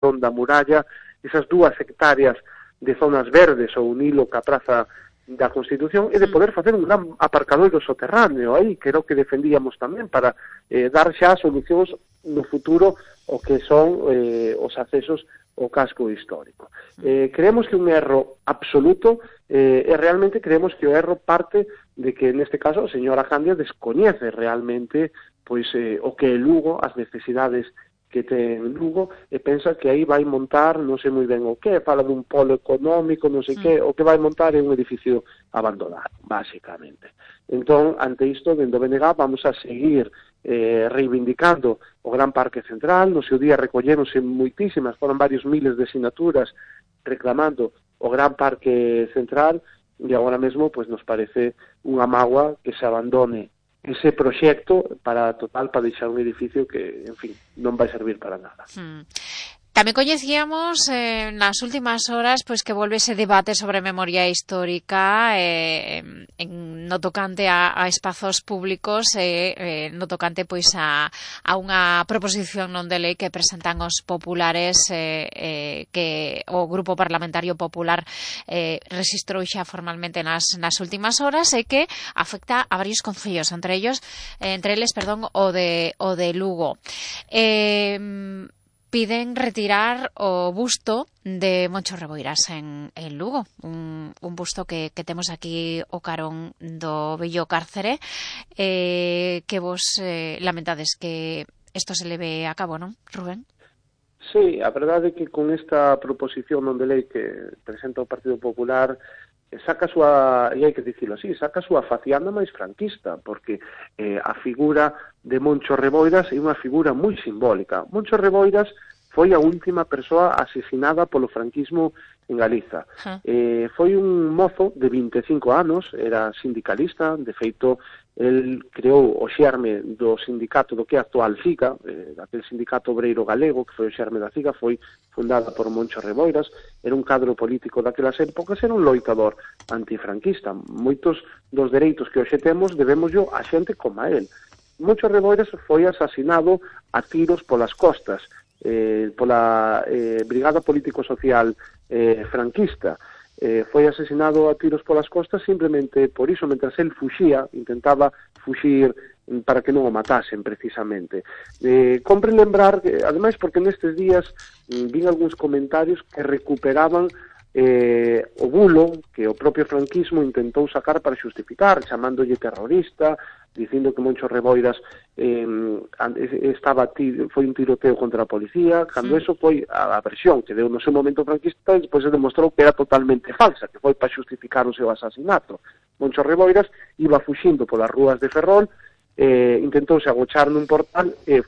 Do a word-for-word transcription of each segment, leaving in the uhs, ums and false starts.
da muralla, esas dúas hectáreas de zonas verdes ou un hilo ca praza da Constitución, e de poder facer un gran aparcadoiro soterráneo aí, que era o que defendíamos tamén, para eh, dar xa solucións no futuro o que son eh, os accesos ao casco histórico. Eh, creemos que un erro absoluto, eh, e realmente creemos que o erro parte de que, neste caso, a señora Candia descoñece realmente pois eh, o que é Lugo, as necesidades que ten Lugo, e pensa que aí vai montar, non sei moi ben o que, fala dun polo económico, non sei mm. que, o que vai montar é un edificio abandonado, basicamente. Entón, ante isto, dentro do B N G vamos a seguir eh, reivindicando o Gran Parque Central. No seu día recolleronse moitísimas, foron varios miles de sinaturas reclamando o Gran Parque Central, e agora mesmo pues, nos parece unha mágoa que se abandone ese proxecto para total para deixar un edificio que, en fin, non vai servir para nada. Hmm. Tamén coñecíamos eh, nas últimas horas pois que volve ese debate sobre memoria histórica eh, en, no tocante a, a espazos públicos e eh, no tocante pois a, a unha proposición non de lei que presentan os populares eh, eh, que o Grupo Parlamentario Popular eh, registrou xa formalmente nas, nas últimas horas e que afecta a varios concellos, entre ellos eh, entre eles, perdón, o de, o de Lugo. Eh, Piden retirar o busto de Moncho Reboiras en, en Lugo, un, un busto que, que temos aquí o carón do vello cárcere, eh, que vos eh, lamentades que isto se leve a cabo, non, Rubén? Sí, a verdade é que con esta proposición non de lei que presenta o Partido Popular saca a súa, e hai que dicilo así, saca a súa facianda máis franquista, porque eh, a figura de Moncho Reboiras é unha figura moi simbólica. Moncho Reboiras foi a última persoa asesinada polo franquismo en Galiza. Huh. Eh, foi un mozo de vinte e cinco anos, era sindicalista, de feito, el creou o xerme do sindicato do que é actual CIGA, eh, aquel sindicato obreiro galego, que foi o xerme da CIGA, foi fundada por Moncho Reboiras, era un cadro político daquelas épocas, era un loitador antifranquista. Moitos dos dereitos que hoxe temos debemos yo a xente como a él. Moncho Reboiras foi asasinado a tiros polas costas, eh, pola eh, Brigada Político-Social eh, franquista. Eh, foi asesinado a tiros polas costas simplemente por iso, mentras el fuxía, intentaba fuxir para que non o matasen, precisamente. Eh, compre lembrar, que, ademais, porque nestes días mm, vin algúns comentarios que recuperaban eh, o bulo que o propio franquismo intentou sacar para xustificar, chamándolle terrorista, dicindo que Moncho Reboiras eh, estaba tiro, foi un tiroteo contra a policía, cando sí. Eso foi a, a versión que deu no seu momento franquista, e despois se demostrou que era totalmente falsa, que foi para xustificar o seu asasinato. Moncho Reboiras iba fuxindo polas rúas de Ferrol, eh, intentouse agochar nun portal e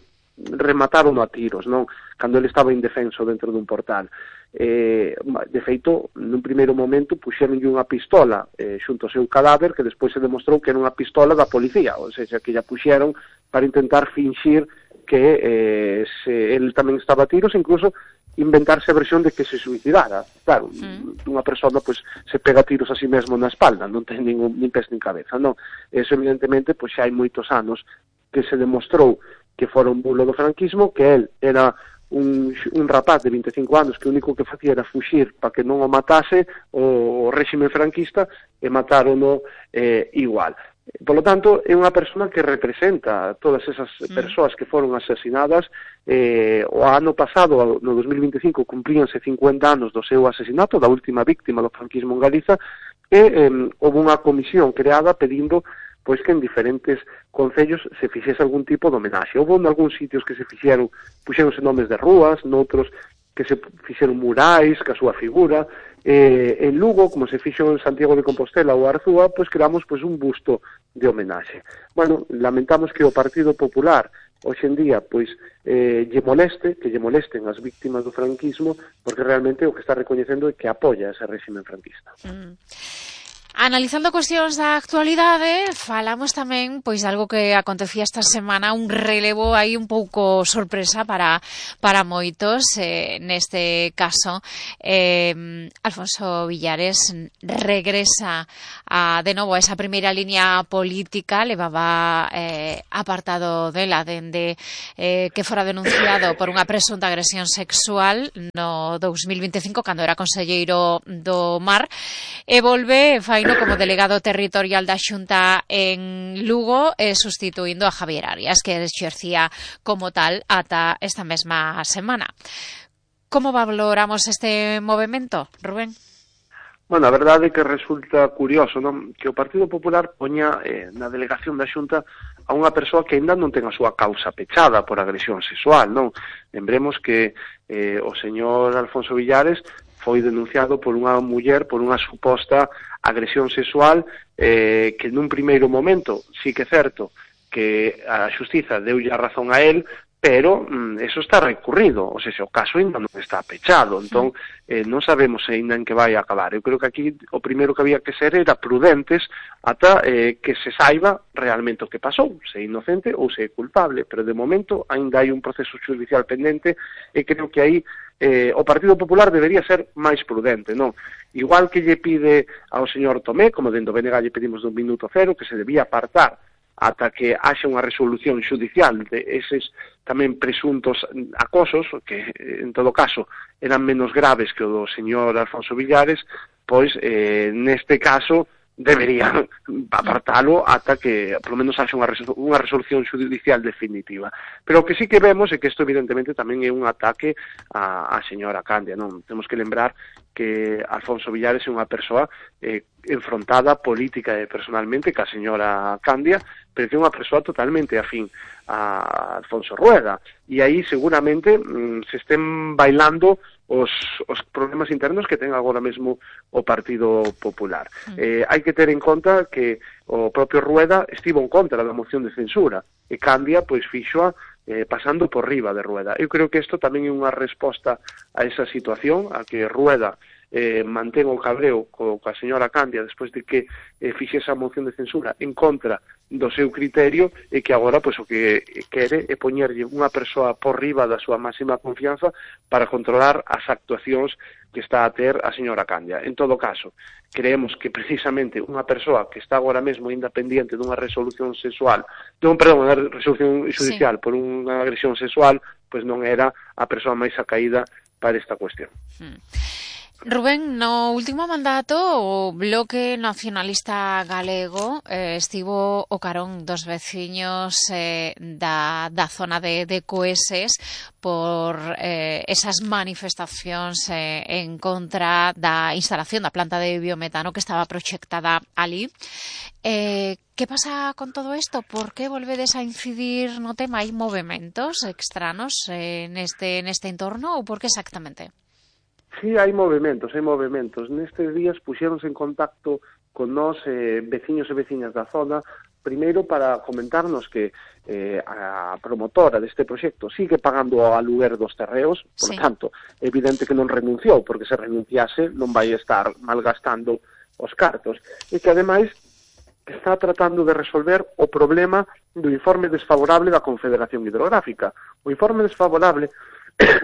remataron a tiros, non? Cando ele estaba indefenso dentro dun portal. Eh, de feito, nun primeiro momento puxeronlle unha pistola eh, xunto ao seu cadáver, que despois se demostrou que era unha pistola da policía, ou seja, que ya puxeron para intentar finxir que eh, se ele tamén estaba a tiros, incluso inventarse a versión de que se suicidara. Claro, mm. unha persona pois se pega tiros a si mesmo na espalda, non ten ningún, nin pés nin cabeza, non? Eso evidentemente pois xa hai moitos anos que se demostrou que fora un bulo do franquismo, que el era un, un rapaz de vinte e cinco anos que o único que facía era fuxir para que non o matase o réxime franquista, e matarono eh, igual. Por lo tanto, é unha persona que representa todas esas mm. persoas que foron asesinadas. Eh, o ano pasado, no dos mil vinte e cinco, cumplíanse cincuenta anos do seu asesinato, da última víctima do franquismo en Galiza, e eh, houve unha comisión creada pedindo pois que en diferentes concellos se fixese algún tipo de homenaxe. Houve en algúns sitios que se fixeron, puxeronse nomes de rúas, noutros que se fixeron murais, que a súa figura. Eh, en Lugo, como se fixo en Santiago de Compostela ou Arzúa, pois creamos pois un busto de homenaxe. Bueno, lamentamos que o Partido Popular hoxe en día pois eh, lle moleste, que lle molesten as víctimas do franquismo, porque realmente o que está recoñecendo é que apoia ese réxime franquista. Mm. Analizando cuestións da actualidade, falamos tamén pois de algo que acontecía esta semana, un relevo aí un pouco sorpresa para para moitos, eh, neste caso eh, Alfonso Villares regresa a, de novo a esa primeira liña política, levaba eh, apartado dela dende eh, que fora denunciado por unha presunta agresión sexual no dous mil vinte e cinco, cando era conselleiro do Mar, e volve fai como delegado territorial da Xunta en Lugo, eh, sustituindo a Javier Arias, que exercía como tal ata esta mesma semana. Como valoramos este movimento, Rubén? Bueno, a verdade é que resulta curioso, non? Que o Partido Popular poña eh, na delegación da Xunta a unha persoa que ainda non ten a súa causa pechada por agresión sexual, non? Lembremos que eh, o señor Alfonso Villares foi denunciado por unha muller por unha suposta agresión sexual eh, que nun primeiro momento sí que é certo que a xustiza deulle a razón a él, pero mm, eso está recurrido, ou seja, o caso ainda non está pechado, entón eh, non sabemos ainda en que vai a acabar. Eu creo que aquí o primeiro que había que ser era prudentes ata eh, que se saiba realmente o que pasou, se é inocente ou se é culpable, pero de momento ainda hai un proceso judicial pendente e creo que aí eh, o Partido Popular debería ser máis prudente, non? Igual que lle pide ao señor Tomé, como dentro do B N G lle pedimos dun minuto cero, que se debía apartar ata que haxa unha resolución judicial de eses tamén presuntos acosos, que en todo caso eran menos graves que o do señor Alfonso Villares, pois eh, neste caso deberían apartalo ata que polo menos haxa unha, resol unha resolución judicial definitiva. Pero o que sí que vemos é que isto evidentemente tamén é un ataque a, a señora Candia, non? Temos que lembrar que Alfonso Villares é unha persoa eh, enfrontada política e personalmente ca señora Candia, pero que é unha persoa totalmente afín a Alfonso Rueda, e aí seguramente mm, se estén bailando os, os problemas internos que ten agora mesmo o Partido Popular. Mm. Eh, hai que ter en conta que o propio Rueda estivo en contra da moción de censura, e Candia pois fixoa eh, pasando por riba de Rueda. Eu creo que isto tamén é unha resposta a esa situación, a que Rueda eh, mantén o cabreo co, coa señora Candia despois de que eh, fixe esa moción de censura en contra do seu criterio, e que agora pois o que quere é poñerlle unha persoa por riba da súa máxima confianza para controlar as actuacións que está a ter a señora Candia. En todo caso, creemos que precisamente unha persoa que está agora mesmo ainda pendiente dunha resolución sexual, dun, perdón, unha resolución judicial sí. por unha agresión sexual, pois non era a persoa máis acaída para esta cuestión. Hmm. Rubén, no último mandato o Bloque Nacionalista Galego eh, estivo o carón dos veciños eh, da, da zona de, de Coeses por eh, esas manifestacións eh, en contra da instalación da planta de biometano que estaba proxectada ali. Eh, que pasa con todo isto? Por que volvedes a incidir no tema? Hai movimentos extranos eh, neste, neste entorno ou por que exactamente? Sí, hai movimentos, hai movimentos. Nestes días puxéronse en contacto con nós eh, veciños e veciñas da zona, primeiro para comentarnos que eh, a promotora deste proxecto sigue pagando o aluguer dos terreos, por sí. tanto, é evidente que non renunciou, porque se renunciase non vai estar malgastando os cartos, e que ademais está tratando de resolver o problema do informe desfavorable da Confederación Hidrográfica. O informe desfavorable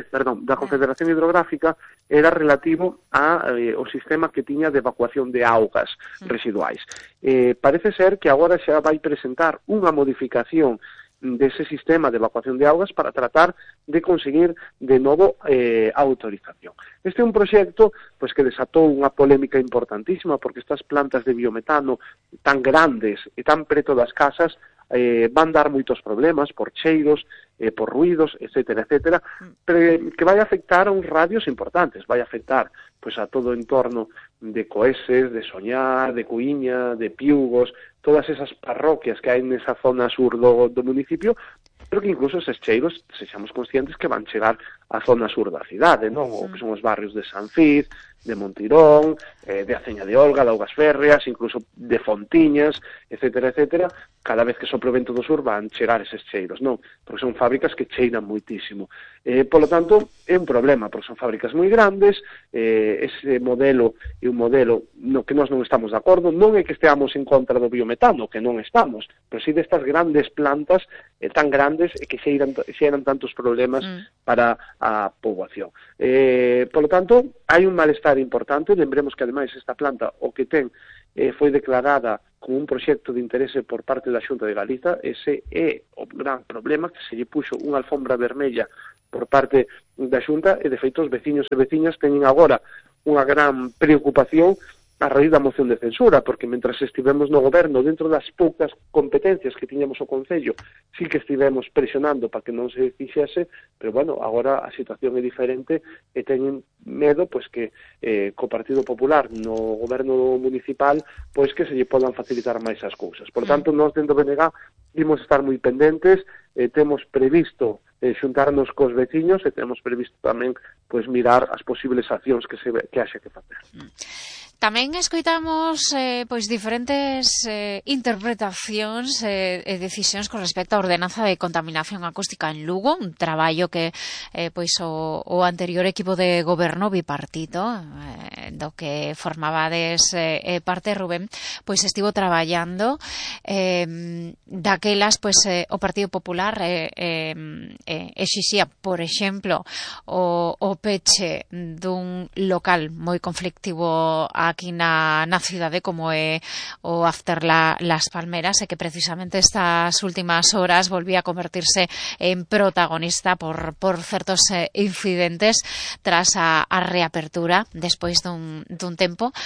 perdón, da Confederación Hidrográfica era relativo a, eh, o sistema que tiña de evacuación de augas residuais. Eh, parece ser que agora xa vai presentar unha modificación dese sistema de evacuación de augas para tratar de conseguir de novo eh, autorización. Este é un proxecto pois, que desatou unha polémica importantísima, porque estas plantas de biometano tan grandes e tan preto das casas eh, van dar moitos problemas por cheiros, eh, por ruidos, etcétera, etcétera, pero que vai afectar a uns radios importantes, vai afectar pois, a todo o entorno de Coeses, de Soñar, de Cuíña, de Piugos, todas esas parroquias que hai nesa zona sur do, do municipio, pero que incluso eses cheiros, sexamos conscientes que van chegar a zona sur da cidade, non? O que son os barrios de San Fiz, de Montirón, eh, de Aceña de Olga, de Augas Férreas, incluso de Fontiñas, etcétera, etcétera. Cada vez que sopra o vento do sur van chegar eses cheiros, non? Porque son fábricas que cheiran moitísimo. Eh, polo tanto, é un problema, porque son fábricas moi grandes, eh, ese modelo é un modelo no que nós non estamos de acordo, non é que esteamos en contra do biometano, que non estamos, pero si destas grandes plantas eh, tan grandes e que xeiran, xeiran tantos problemas mm. para a poboación. Eh, polo tanto, hai un malestar importante. Lembremos que ademais esta planta o que ten eh, foi declarada como un proxecto de interese por parte da Xunta de Galiza. Ese é o gran problema, que se lle puxo unha alfombra vermella por parte da Xunta, e de feito os veciños e veciñas teñen agora unha gran preocupación a raíz da moción de censura, porque mentras estivemos no goberno, dentro das poucas competencias que tiñamos o Concello, sí que estivemos presionando para que non se fixese, pero bueno, agora a situación é diferente e teñen medo pois que eh, co Partido Popular no goberno municipal pois que se lle podan facilitar máis as cousas. Por tanto, nós dentro do B N G imos estar moi pendentes, eh, temos previsto eh, xuntarnos cos veciños e temos previsto tamén pois mirar as posibles accións que se que haxe que facer. Tamén escoitamos eh, pois diferentes eh, interpretacións e eh, decisións con respecto á ordenanza de contaminación acústica en Lugo, un traballo que eh, pois o, o anterior equipo de goberno bipartito eh, do que formabades eh, parte Rubén, pois estivo traballando eh, daquelas pois eh, o Partido Popular eh, eh, eh, exixía, por exemplo, o, o peche dun local moi conflictivo a aquí na, na cidade como é o After la, Las Palmeras, e que precisamente estas últimas horas volvía a convertirse en protagonista por, por certos eh, incidentes tras a, a reapertura despois dun, dun tempo.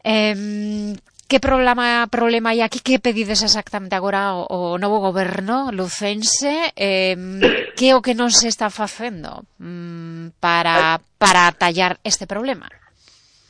Eh, Que problema problema hai aquí? Que pedides exactamente agora o, o novo goberno lucense? Eh, que é o que non se está facendo mm, para, para tallar este problema?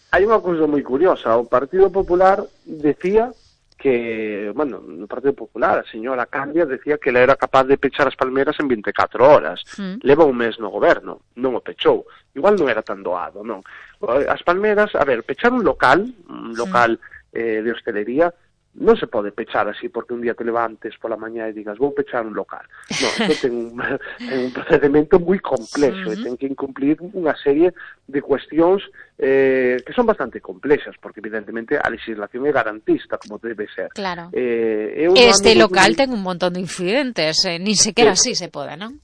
Hai unha cousa moi curiosa. O Partido Popular decía que, bueno, no Partido Popular, a señora Candia decía que ela era capaz de pechar as palmeras en vinte e catro horas. Mm. Leva un mes no goberno, non o pechou. Igual non era tan doado, non? As palmeras, a ver, pechar un local, un local mm. eh, de hostelería, non se pode pechar así porque un día te levantes pola mañá e digas vou pechar un local. Non, isto ten un, ten un procedimento moi complexo uh -huh. e ten que incumplir unha serie de cuestións eh, que son bastante complexas, porque evidentemente a legislación é garantista como debe ser. Claro. Eh, este local ten un montón de incidentes, eh, ni sequera así se pode, non?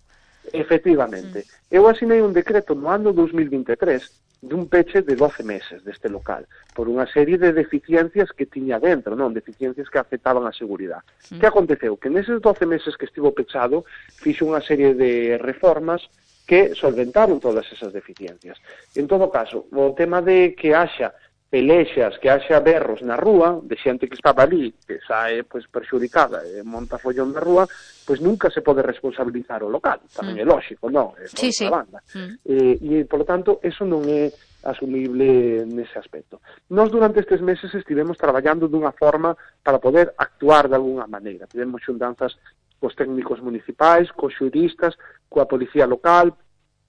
Efectivamente. Mm. Eu asinei un decreto no ano dos mil vinte e tres dun peche de doce meses deste local, por unha serie de deficiencias que tiña dentro, non? Deficiencias que afectaban a seguridade. Mm. Que aconteceu? Que neses doce meses que estivo pechado, fixo unha serie de reformas que solventaron todas esas deficiencias. En todo caso, o tema de que haxa pelexas, que haxa berros na rúa, de xente que estaba ali, que sae pois, perxudicada e monta follón na rúa, pois nunca se pode responsabilizar o local. Tamén mm. é lógico, non? É sí, sí. Banda. Mm. Eh, e, polo tanto, eso non é asumible nese aspecto. Nós durante estes meses estivemos traballando dunha forma para poder actuar de alguna maneira. Tivemos xuntanzas cos técnicos municipais, cos xuristas, coa policía local,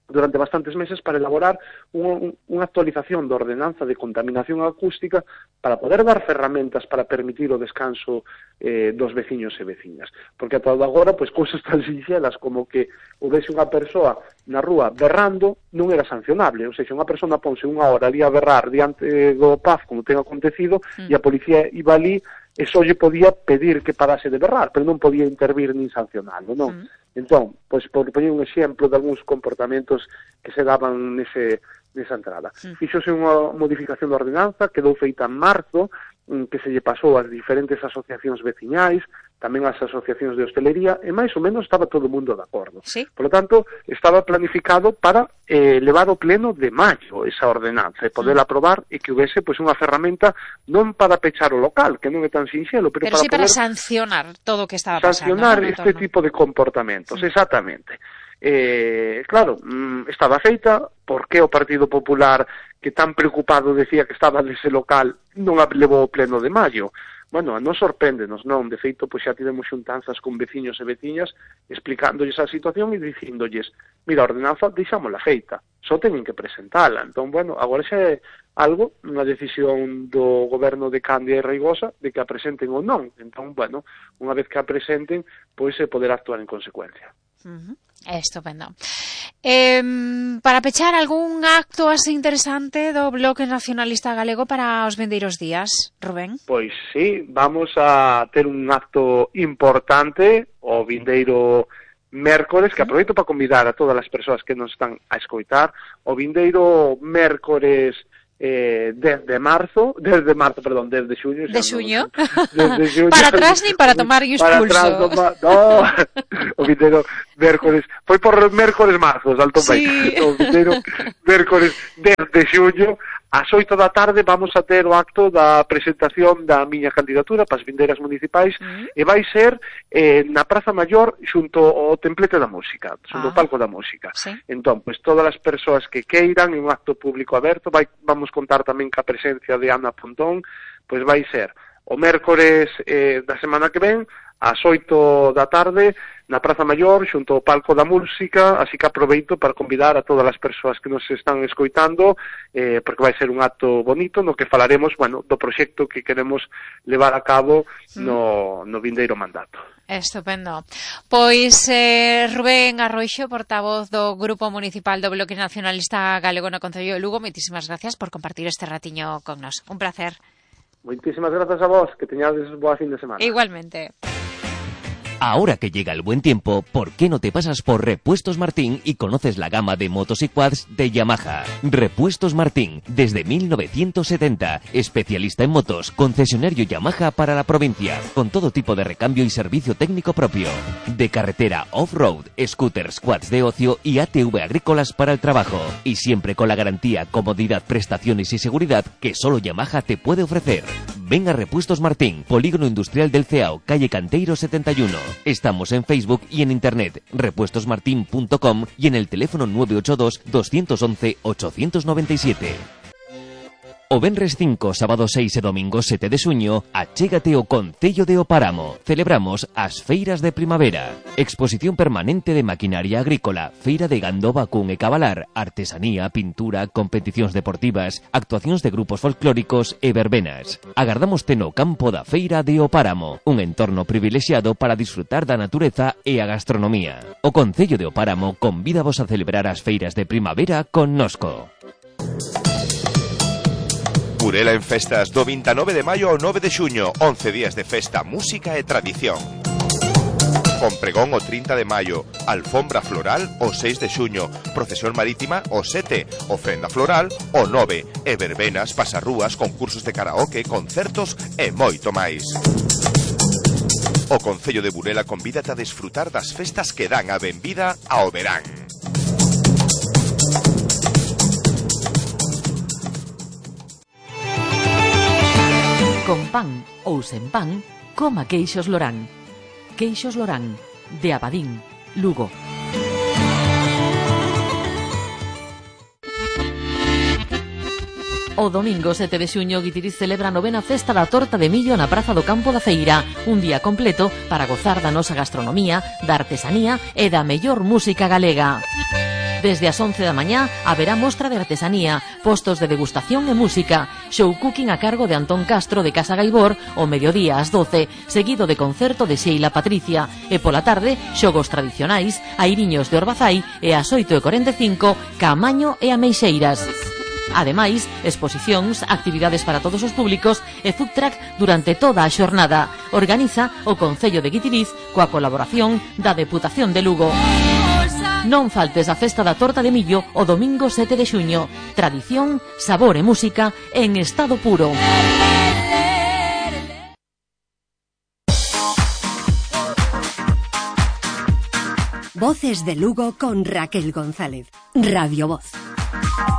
durante bastantes meses para elaborar unha, unha actualización da ordenanza de contaminación acústica para poder dar ferramentas para permitir o descanso eh, dos veciños e veciñas. Porque ata agora, pois, cousas tan sinxelas como que houvese unha persoa na rúa berrando non era sancionable. Ou seja, unha persona ponse unha hora ali a berrar diante do P A F, como ten acontecido, mm. e a policía iba ali e só lle podía pedir que parase de berrar, pero non podía intervir nin sancionarlo, non? Mm. Entón, pois, por poñer un exemplo de algúns comportamentos que se daban nese, nesa entrada. Mm. Fixose unha modificación da ordenanza, quedou feita en marzo, que se lle pasou ás diferentes asociacións veciñais, tamén ás asociacións de hostelería, e máis ou menos estaba todo o mundo de acordo. Sí. Por lo tanto, estaba planificado para eh, levar o pleno de maio esa ordenanza, e poder mm. aprobar e que houvese pois, unha ferramenta non para pechar o local, que non é tan sinxelo, pero, pero para sí poder para sancionar todo o que estaba pasando. Sancionar ¿no? este tipo de comportamentos, sí. exactamente. Eh, claro, mm, estaba feita, porque o Partido Popular, que tan preocupado decía que estaba nese local, non a levou o pleno de maio? bueno, non sorpréndenos, non, de feito, pois xa tivemos xuntanzas con veciños e veciñas explicándolles a situación e dicíndolles, mira, a ordenanza deixámola feita, só teñen que presentala. Entón, bueno, agora xa é algo, unha decisión do goberno de Candia e Reigosa de que a presenten ou non. Entón, bueno, unha vez que a presenten, pois se poderá actuar en consecuencia. Uh-huh. Estupendo. Eh, para pechar, algún acto así interesante do Bloque Nacionalista Galego para os vindeiros días, Rubén? Pois sí, vamos a ter un acto importante o vindeiro mércores, que aproveito para convidar a todas as persoas que nos están a escoitar, o vindeiro mércores eh, desde marzo, desde marzo, perdón, desde xuño. De xuño? Desde xuño. Para atrás nin para tomar os para pulso. Atrás, no, no, o vindeiro mércores, foi por mércores marzos, alto sí. País. O vindeiro mércores desde xuño, ás oito da tarde vamos a ter o acto da presentación da miña candidatura para as vindeiras municipais, mm. e vai ser eh, na Praza Maior xunto ao Templete da Música, xunto ao ah. Palco da Música. Sí. Entón, pois todas as persoas que queiran, en un acto público aberto, vai, vamos contar tamén ca presencia de Ana Pontón, pois vai ser o mércores eh, da semana que ven, ás oito da tarde, na Praza Maior, xunto ao Palco da Música, así que aproveito para convidar a todas as persoas que nos están escoitando, eh, porque vai ser un acto bonito no que falaremos, bueno, do proxecto que queremos levar a cabo no, no vindeiro mandato. Estupendo. Pois eh, Rubén Arroixo, portavoz do Grupo Municipal do Bloque Nacionalista Galego no Concello de Lugo, moitísimas gracias por compartir este ratiño con nos. Un placer. Moitísimas grazas a vos, que teñades boa fin de semana. Igualmente. Ahora que llega el buen tiempo, ¿por qué no te pasas por Repuestos Martín y conoces la gama de motos y quads de Yamaha? Repuestos Martín, desde mil novecientos setenta, especialista en motos, concesionario Yamaha para la provincia, con todo tipo de recambio y servicio técnico propio. De carretera off-road, scooters, quads de ocio y A T V agrícolas para el trabajo. Y siempre con la garantía, comodidad, prestaciones y seguridad que solo Yamaha te puede ofrecer. Ven a Repuestos Martín, Polígono Industrial del Ceao, calle Canteiro setenta y uno. Estamos en Facebook y en internet, repuestos martin punto com y en el teléfono nueve ocho dos, dos once, ocho nueve siete. O venres cinco, sábado seis e domingo sete de xuño, achégate ao Concello de O Páramo. Celebramos as feiras de primavera. Exposición permanente de maquinaria agrícola, feira de gando, vacún e cabalar, artesanía, pintura, competicións deportivas, actuacións de grupos folclóricos e verbenas. Agardámoste no campo da feira de O Páramo, un entorno privilexiado para disfrutar da natureza e a gastronomía. O Concello de O Páramo convídavos a celebrar as feiras de primavera connosco. Burela en festas do vinte e nove de maio ao nove de xuño, once días de festa, música e tradición. Con pregón o trinta de maio, alfombra floral o seis de xuño, procesión marítima o sete, ofrenda floral o nove, e verbenas, pasarrúas, concursos de karaoke, concertos e moito máis. O Concello de Burela convídate a desfrutar das festas que dan a benvida ao verán. Con pan ou sen pan, coma queixos Lorán. Queixos Lorán, de Abadín, Lugo. O domingo sete de xuño, Guitiriz celebra a novena festa da torta de millo na Praza do Campo da Feira, un día completo para gozar da nosa gastronomía, da artesanía e da mellor música galega. Desde as once da mañá haberá mostra de artesanía, postos de degustación e música, show cooking a cargo de Antón Castro de Casa Gaibor o mediodía ás doce, seguido de concerto de Sheila Patricia, e pola tarde xogos tradicionais, airiños de Orbazai e ás oito e corenta e cinco, Caamaño e Ameixeiras. Ademais, exposicións, actividades para todos os públicos e food truck durante toda a xornada. Organiza o Concello de Guitiriz coa colaboración da Deputación de Lugo. Non faltes a festa da torta de millo o domingo sete de xuño. Tradición, sabor e música en estado puro. Voces de Lugo con Raquel González. Radio Voz.